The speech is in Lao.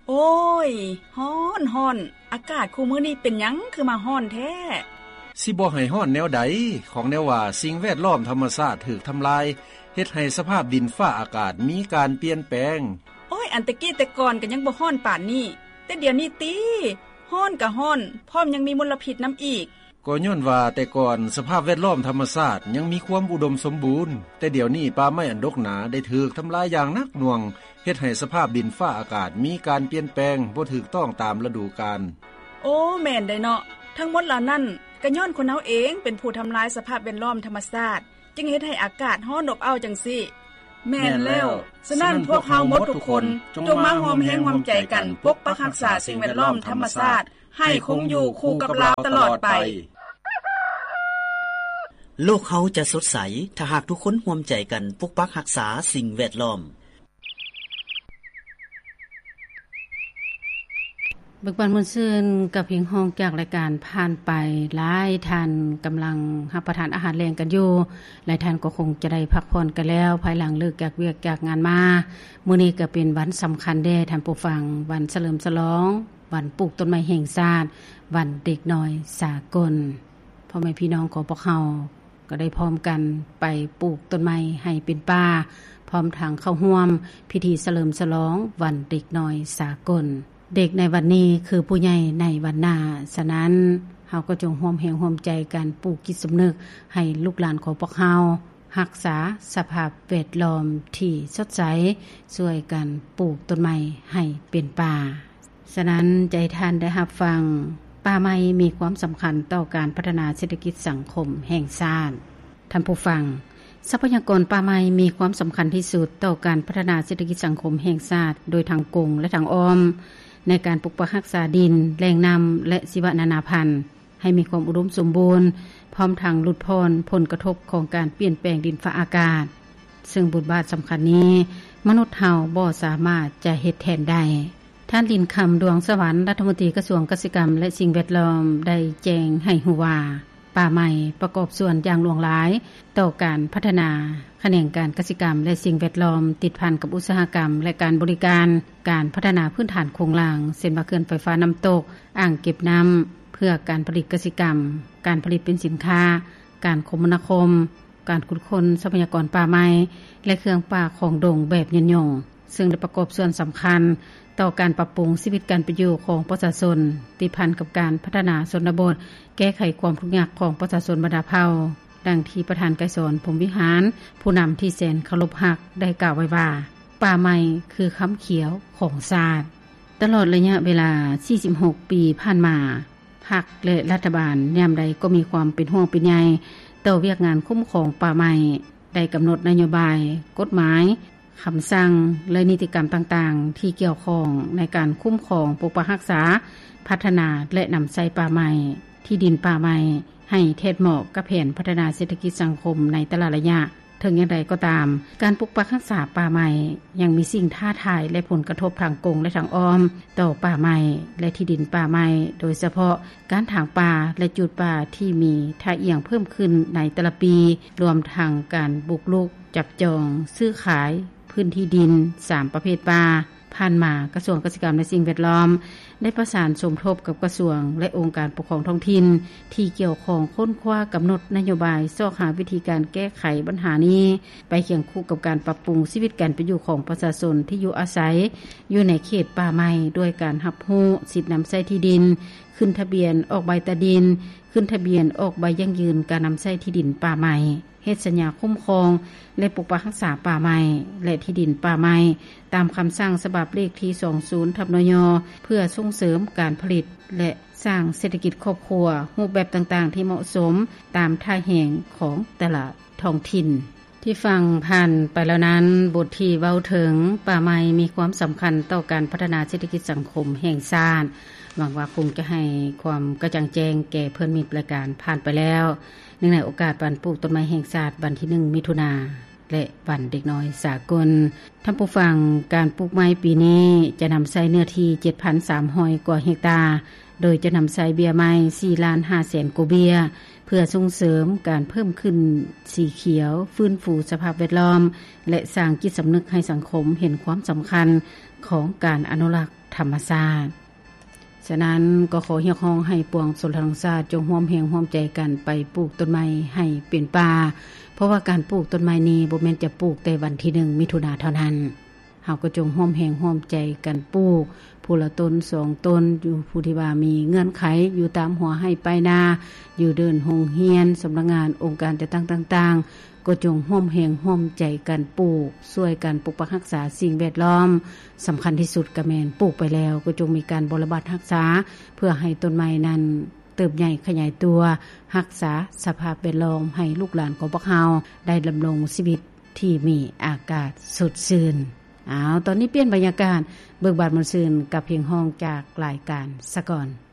ໂອ້ຍ ຮ້ອນ ຮ້ອນ. ອາກາດຄູ່ມື້ນີ້ເປັນຫຍັງຄືມາຮ້ອນແທ້? ຊິບໍ່ໃຫ້ຮ້ອນແນວໃດ? ຂອງແນວວ່າສິ່ງແວດລ້ອມທຳມະຊາດຖືກທຳລາຍ ເຮັດໃຫ້ສະພາບດິນຟ້າອາກາດມີການປ່ຽນແປງ. ໂອ້ຍ ອັນແຕ່ກີ້ແຕ່ກ່ອນກໍຍັງບໍ່ຮ້ອນປານນີ້ ແຕ່ດຽວນີ້ຕິ ຮ້ອນກໍຮ້ອນ ພ້ອມຍັງມີມົນລະພິດນຳອີກ. ກໍຍ້ອນວ່າແຕ່ກ່ອນສະພາບແວດລ້ອມທຳມະຊາດຍັງມີຄວາມອຸດົມສົມບູນ, ແຕ່ດຽວນີ້ປ່າໄມ້ອັນດົກໜາໄດ້ຖືກທຳລາຍຢ່າງໜັກໜ່ວງ, ເຮັດໃຫ້ສະພາບດິນຟ້າອາກາດມີການປ່ຽນແປງບໍ່ຖືກຕ້ອງຕາມລະດູການ. ໂອ້ ແມ່ນໄດ໋ເນາະ, ທັງໝົດເຫຼົ່ານັ້ນກໍຍ້ອນຄົນເຮົາເອງເປັນຜູ້ທຳລາຍສະພາບແວດລ້ອມທຳມະຊາດ, ຈຶ່ງເຮັດໃຫ້ອາກາດຮ້ອນອົບເອົ້າຈັ່ງຊີ້. ແມ່ນແລ້ວ. ສະນັ້ນພວກເຮົາໝົດທຸກຄົນ ຈົ່ງມາຮ່ວມແຮງຮ່ວມໃຈກັນປົກປັກຮັກສາສິ່ງແວດລ້ອມທຳມະຊາດ ໃຫ້ຄົງຢູ່ຄູ່ກັບລາວຕະຫຼອດໄປ. ໂລກເຮົາຈະສົດໃສ ຖ້າຫາກທຸກຄົນຮ່ວມໃຈກັນປົກປັກຮັກສາສິ່ງແວດລ້ອມ. ເບີກບານມ່ວນຊື່ນກັບພຽງຮ້ອງຈາກລາຍການຜ່ານໄປ, ຫຼາຍທ່ານກຳລັງຮັບປະທານອາຫານແລງກັນຢູ່, ຫຼາຍທ່ານກໍຄົງຈະໄດ້ພັກຜ່ອນກັນແລ້ວ ພາຍຫຼັງເລີກຈາກວຽກຈາກງານມາ. ມື້ນີ້ກໍເປັນວັນສຳຄັນເດ້ທ່ານຜູ້ຟັງ, ວັນສະເຫຼີມສະຫຼອງ ວັນປູກຕົ້ນໄມ້ແຫ່ງຊາດ, ວັນເດັກນ້ອຍສາກົນ. ພໍ່ແມ່ພີ່ນ້ອງຂອງພວກເຮົາກໍໄດ້ພ້ອມກັນໄປປູກຕົ້ນໄມ້ໃຫ້ເປັນປ່າ, ພ້ອມທັງເຂົ້າຮ່ວມພິທີສະເຫຼີມສະຫຼອງວັນເດັກນ້ອຍສາກົນ. ເດັກໃນວັນນີ້ຄືຜູ້ໃຫຍ່ໃນວັນໜ້າ, ສະນັ້ນເຮົາກໍຈົ່ງຮ່ວມແຮງຮ່ວມໃຈກັນປູກຈິດສຳນຶກໃຫ້ລູກຫຼານຂອງພວກເຮົາ ຮັກສາສະພາບແວດລ້ອມທີ່ສົດໃສ, ຊ່ວຍກັນປູກຕົ້ນໄມ້ໃຫ້ເປັນປ່າ. ສະນັ້ນຈະໃຫ້ທ່ານໄດ້ຮັບຟັງ, ປ່າໄມ້ມີຄວາມສຳຄັນຕໍ່ການພັດທະນາເສດຖະກິດສັງຄົມແຫ່ງຊາດ. ທ່ານຜູ້ຟັງ, ຊັບພະຍາກອນປ່າໄມ້ມີຄວາມສຳຄັນທີ່ສຸດຕໍ່ການພັດທະນາເສດຖະກິດສັງຄົມແຫ່ງຊາດ ໂດຍທາງກົງ ແລະ ທາງອ້ອມ ໃນການປົກປັກຮັກສາດິນ, ແຫຼ່ງນ້ຳ ແລະ ຊີວະນານາພັນ ໃຫ້ມີຄວາມອຸດົມສົມບູນ, ພ້ອມທັງຫຼຸດຜ່ອນຜົນກະທົບຂອງການປ່ຽນແປງດິນຟ້າອາກາດ, ເຊິ່ງບົດບາດສຳຄັນນີ້ ມະນຸດເຮົາບໍ່ສາມາດຈະເຮັດແທນໄດ້. ທ່ານ ລິນຄຳ ດວງສະຫວັນ, ລັດຖະມົນຕີກະຊວງກະສິກຳ ແລະ ສິ່ງແວດລ້ອມ ໄດ້ແຈ້ງໃຫ້ຮູ້ວ່າ, ປ່າໄມ້ປະກອບສ່ວນຢ່າງຫຼວງຫຼາຍຕໍ່ການພັດທະນາຂະແໜງການກະສິກຳ ແລະ ສິ່ງແວດລ້ອມ, ຕິດພັນກັບອຸດສາຫະກຳ ແລະ ການບໍລິການ, ການພັດທະນາພື້ນຖານໂຄງລ່າງ, ເຊັ່ນວ່າ ເຂື່ອນໄຟຟ້ານ້ຳຕົກ, ອ່າງເກັບນ້ຳເພື່ອການຜະລິດກະສິກຳ, ການຜະລິດເປັນສິນຄ້າ, ການຄົມມະນາຄົມ, ການຂຸດຄົ້ນຊັບພະຍາກອນປ່າໄມ້ ແລະ ເຄື່ອງປ່າຂອງດົງແບບຍືນຍົງ, ເຊິ່ງໄດ້ປະກອບສ່ວນສຳຄັນຕໍ່ການປັບປຸງຊີວິດການເປັນຢູ່ຂອງປະຊາຊົນ, ຕິດພັນກັບການພັດທະນາຊົນນະບົດ, ແກ້ໄຂຄວາມທຸກຍາກຂອງປະຊາຊົນບັນດາເຜົ່າ, ດັ່ງທີ່ປະທານໄກສອນ ພົມວິຫານ, ຜູ້ນຳທີ່ແສນເຄົາລົບຮັກ ໄດ້ກ່າວໄວ້ວ່າ, ປ່າໄມ້ຄືຄຳຂຽວຂອງຊາດ. ຕະຫຼອດໄລຍະເວລາສີ່ສິບຫົກປີຜ່ານມາ, ພັກ ແລະ ລັດຖະບານຍາມໃດກໍມີຄວາມເປັນຫ່ວງເປັນໃຍຕໍ່ວຽກງານຄຸ້ມຄອງປ່າໄມ້, ໄດ້ກຳນົດນະໂຍບາຍ, ກົດໝາຍ, ຄຳສັ່ງ ແລະ ນິຕິກຳຕ່າງໆ ທີ່ກ່ຽວຂ້ອງໃນການຄຸ້ມຄອງ, ປົກປັກຮັກສາ, ພັດທະນາ ແລະ ນຳໃຊ້ປ່າໄມ້, ທີ່ດິນປ່າໄມ້ ໃຫ້ແທດເໝາະກັບແຜນພັດທະນາເສດຖະກິດສັງຄົມໃນແຕ່ລະໄລຍະ. ເຖິງຢ່າງໃດກໍຕາມ, ການປົກປັກຮັກສາປ່າໄມ້ຍັງມີສິ່ງທ້າທາຍ ແລະ ຜົນກະທົບທາງກົງ ແລະ ທາງອ້ອມຕໍ່ປ່າໄມ້ ແລະ ທີ່ດິນປ່າໄມ້, ໂດຍສະເພາະການຖາງປ່າ ແລະ ຈູດປ່າທີ່ມີທ່າອ່ຽງເພີ່ມຂຶ້ນໃນແຕ່ລະປີ, ລວມທັງການບຸກລຸກ, ຈັບຈອງ, ຊື້ຂາຍພື້ນທີ່ດິນສາມປະເພດປ່າ. ຜ່ານມາ, ກະຊວງກະສິກຳ ແລະ ສິ່ງແວດລ້ອມ ໄດ້ປະສານສົມທົບກັບກະຊວງ ແລະ ອົງການປົກຄອງທ້ອງຖິ່ນທີ່ກ່ຽວຂ້ອງ ຄົ້ນຄວ້າກຳນົດນະໂຍບາຍ ຊອກຫາວິທີການແກ້ໄຂບັນຫານີ້ ໄປຄຽງຄູ່ກັບການປັບປຸງຊີວິດການເປັນຢູ່ຂອງປະຊາຊົນທີ່ຢູ່ອາໄສຢູ່ໃນເຂດປ່າໄມ້ ດ້ວຍການຮັບຮູ້ສິດນຳໃຊ້ທີ່ດິນ, ຂຶ້ນທະບຽນອອກໃບຕາດິນ, ຂຶ້ນທະບຽນອອກໃບຢັ້ງຢືນການນຳໃຊ້ທີ່ດິນປ່າໄມ້, ເຮັດສັນຍາຄຸ້ມຄອງ ແລະ ປົກປັກຮັກສາປ່າໄມ້ ແລະ ທີ່ດິນປ່າໄມ້ ຕາມຄຳສັ່ງສະບັບເລກທີສອງສູນ ທັບ ນຍ ເພື່ອສົ່ງເສີມການຜະລິດ ແລະ ສ້າງເສດຖະກິດຄອບຄົວ ຮູບແບບຕ່າງໆທີ່ເໝາະສົມຕາມທ່າແຮງຂອງແຕ່ລະທ້ອງຖິ່ນ. ທີ່ຟັງຜ່ານໄປແລ້ວນັ້ນ, ບົດທີ່ເວົ້າເຖິງປ່າໄມ້ມີຄວາມສຳຄັນຕໍ່ການພັດທະນາເສດຖະກິດສັງຄົມແຫ່ງຊາດ, ຫວັງວ່າຄົງຈະໃຫ້ຄວາມກະຈ່າງແຈ້ງແກ່ເພື່ອນມິດລາຍການຜ່ານໄປແລ້ວ. ເນື່ອງໃນໂອກາດວັນປູກຕົ້ນໄມ້ແຫ່ງຊາດ ວັນທີໜຶ່ງ ມິຖຸນາ ແລະ ວັນເດັກນ້ອຍສາກົນ. ທ່ານຜູ້ຟັງ, ການປູກໄມ້ປີນີ້ຈະນຳໃຊ້ເນື້ອທີ່ເຈັດພັນສາມຮ້ອຍກວ່າເຮັກຕາ, ໂດຍຈະນຳໃຊ້ເບ້ຍໄມ້ສີ່ລ້ານຫ້າແສນກວ່າເບ້ຍ, ເພື່ອສົ່ງເສີມການເພີ່ມຂຶ້ນສີຂຽວ, ຟື້ນຟູສະພາບແວດລ້ອມ ແລະ ສ້າງຈິດສຳນຶກໃຫ້ສັງຄົມເຫັນຄວາມສຳຄັນຂອງການອະນຸລັກ ທຳມະຊາດ. ສະນັ້ນກໍຂໍຮຽກຮ້ອງໃຫ້ປວງຊົນລາວທັງຊາດ ຈົ່ງຮ່ວມແຮງຮ່ວມໃຈກັນໄປປູກຕົ້ນໄມ້ໃຫ້ເປັນປ່າ, ເພາະວ່າການປູກຕົ້ນໄມ້ນີ້ບໍ່ແມ່ນຈະປູກແຕ່ວັນທີໜຶ່ງ ມິຖຸນາເທົ່ານັ້ນ. ເຮົາກໍຈົ່ງຮ່ວມແຮງຮ່ວມໃຈກັນປູກ ຜູ້ລະຕົ້ນສອງຕົ້ນ ຢູ່ຜູ້ທີ່ວ່າມີເງື່ອນໄຂ ຢູ່ຕາມຫົວໄຮ່ປາຍນາ ຢູ່ເດີ່ນໂຮງຮຽນ, ສຳນັກງານ, ອົງການຈັດຕັ້ງຕ່າງໆ ກໍຈົ່ງຮ່ວມແຮງຮ່ວມໃຈກັນປູກ, ຊ່ວຍກັນປົກປັກຮັກສາສິ່ງແວດລ້ອມ. ສຳຄັນທີ່ສຸດກໍແມ່ນ ປູກໄປແລ້ວກໍຈົ່ງມີການບໍລະບັດຮັກສາ ເພື່ອໃຫ້ຕົ້ນໄມ້ນັ້ນເຕີບໃຫຍ່ຂະຫຍາຍຕົວ, ຮັກສາສະພາບແວດລ້ອມໃຫ້ລູກຫຼານຂອງພວກເຮົາໄດ້ດຳລົງຊີວິດທີ່ມີອາກາດສົດຊື່ນ. ອ້າວ, ຕອນນີ້ປ່ຽນບັນຍາກາດ, ເບີກບານມ່ວນຊື່ນກັບເພງຮ້ອງຈາກລາຍການສາກົນ.